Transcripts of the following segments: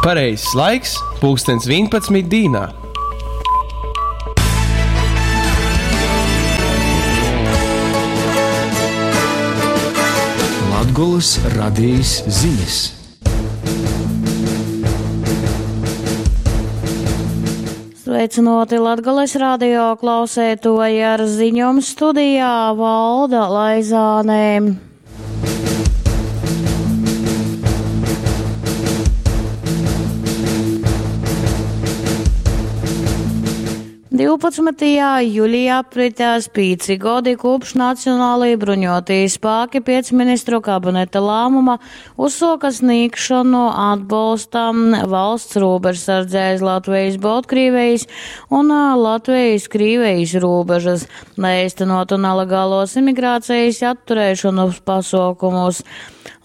Pareizais laiks - pulkstens 11 dīnā. Latgolys radejis zinis. Sveicynuoti Latgales radio klauseituoji ar ziņom studijā Valda Laizāne. 12. juļī apritēs 5 godi kopš Nacionālī bruņotī spāki piec ministru kabineta lāmuma uzsuoka sniegšanu atbolstam valsts rūbežsardzē aiz Latvijas-Boltkrīvijas un Latvijas-Krīvijas rūbežas, lai eistenotu nelegālos imigrācijas atturēšanas pasuokumus.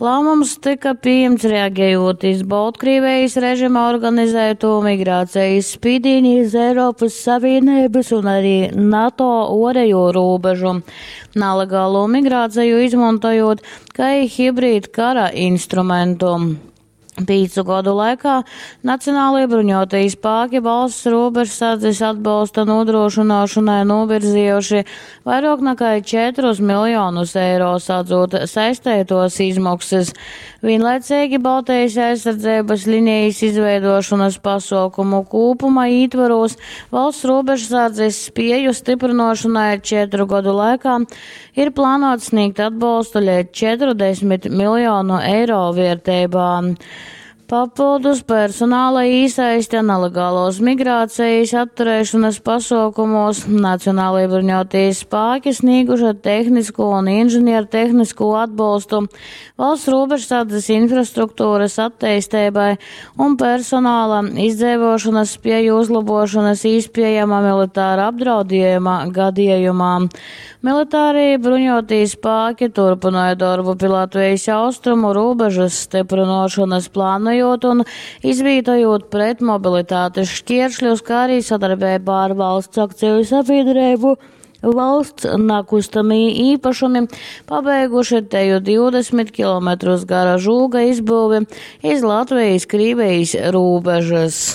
Lāmums tyka pījimts reagejot iz Boltkrīvijas režima organizēto migrācijas spīdīni iz Eiropys Savīneibys un arī NATO uorejo rūbežu, nalegālo migrāceju izmontojot kai hibrīdkara instrumentu. Pīcu godu laikā Nacionālie bruņotie spāki valsts robežsardzes atbolsta nodrošināšanai novirzījuši vairāk nekā 4 miljonus eiro, sadzot saistētos izmaksas. Vienlaicīgi Baltijas aizsardzības linijas izveidošanas pasaukumu kopuma ītvaros valsts robežsardzes spēju stiprināšanai 4 gadu laikā ir plānots sniegt atbolstu līdz 40 miljonu eiro vērtībā. Papildus personāla īsaiste nelegālos migrācijas atturēšanas pasaukumos Nacionālie bruņotie spēki snieguši tehnisko un inženiertehnisko atbalstu valsts robežsardzes infrastruktūras attīstībai un personāla izdzīvošanas spēju uzlabošanas īspējama militāra apdraudējuma gadījumā. Militārie bruņotie spēki turpināja darbu pie Latvijas austrumu robežas stiprinošanas, plānojot un izvītojot pretmobilitātes šķieršļus, kā arī sadarbībā ar valsts akciju sabiedrību valsts nakustamī īpašumi pabeiguši teju 20 km gara žūga izbūvi iz Latvijas-Krīvijas robežas.